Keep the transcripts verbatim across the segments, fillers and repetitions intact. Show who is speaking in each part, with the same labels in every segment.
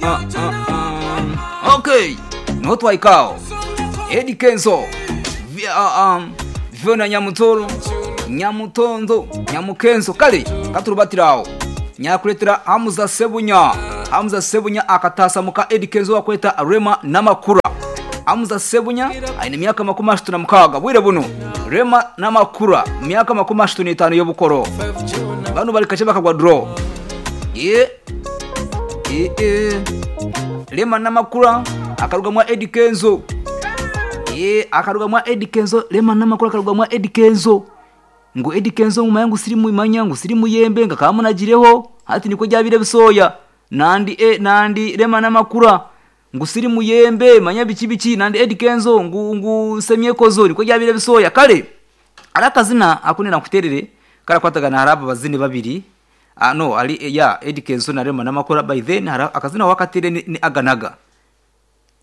Speaker 1: ah, ah, ah. Okay, niho twahikaho Eddy Kenzo Vi- ah, um, Fiona Nyamutoro Nyamutondo Nyamukenzo kale katurubatiraho nyakuletera Hamza Sebunya Hamza Sebunya akatasa muka Eddy Kenzo wakweta Rema Namakura Hamza Sebunya aine emyaka makumi ashatu na mukaaga bwire buno Rema Namakura myaka makumi ashatu n'etaano y'obukoro bano bali kache bakagwa draw ye ye ye Rema Namakura akarugamwa Eddy Kenzo ye akarugamwa Eddy Kenzo Rema Namakura akarugamwa Eddy Kenzo ngo Eddy Kenzo ngumaya ngu sirimu imanya ngu sirimu yembe nga kamunagireho hati niko ryabire bisoya nandi e nandi Rema Namakura ngu sirimu yembe manya biki biki nandi Eddy Kenzo ngu ngu semyekozo niko ryabire bisoya kale ari akazina akunira nkuterere karakwatagana hari aba bazini babiri ah, no ari ya Eddy Kenzo na Rema Namakura by then hari akazina wakatere ni, ni aganaga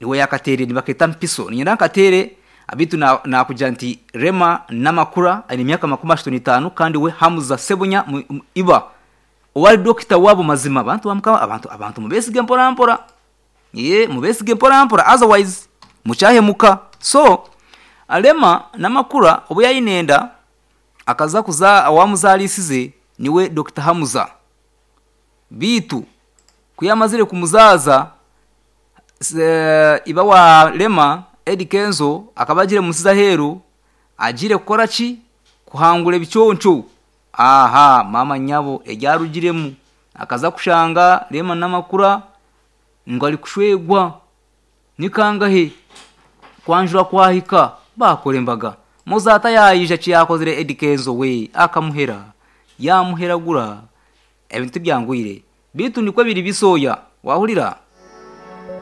Speaker 1: niwe yakatere nibaketa mpiso ninyenda nkatere abitu na nakugira nti Rema Namakura ari imyaka makumi ashatu n'itaanu kandi we Hamza Sebunya mu- mu- iba owari dokita wabo mazima abantu bamukama abantu abantu mubesige mpora mpora ye mubesige mpora mpora otherwise mucyahemuka so Rema Namakura obu yayinenda akaza kuza awamuzalisize niwe Dr Hamza bitu kuyamazire kumuzaza se- iba wa Rema Eddy Kenzo akaba agire musiza heru agire kukora ki kuhangura ebiconco aha mama nyabo eryarugiremu akaza kushanga Rema Namakura ngo ari kushwegwa nikangahe kwanjura kwahika bakora embaga muzata yayija kiyakozire Eddy Kenzo we akamuhera yamuheragura ebintu byangwire bitu niko biri bisoya wahurira.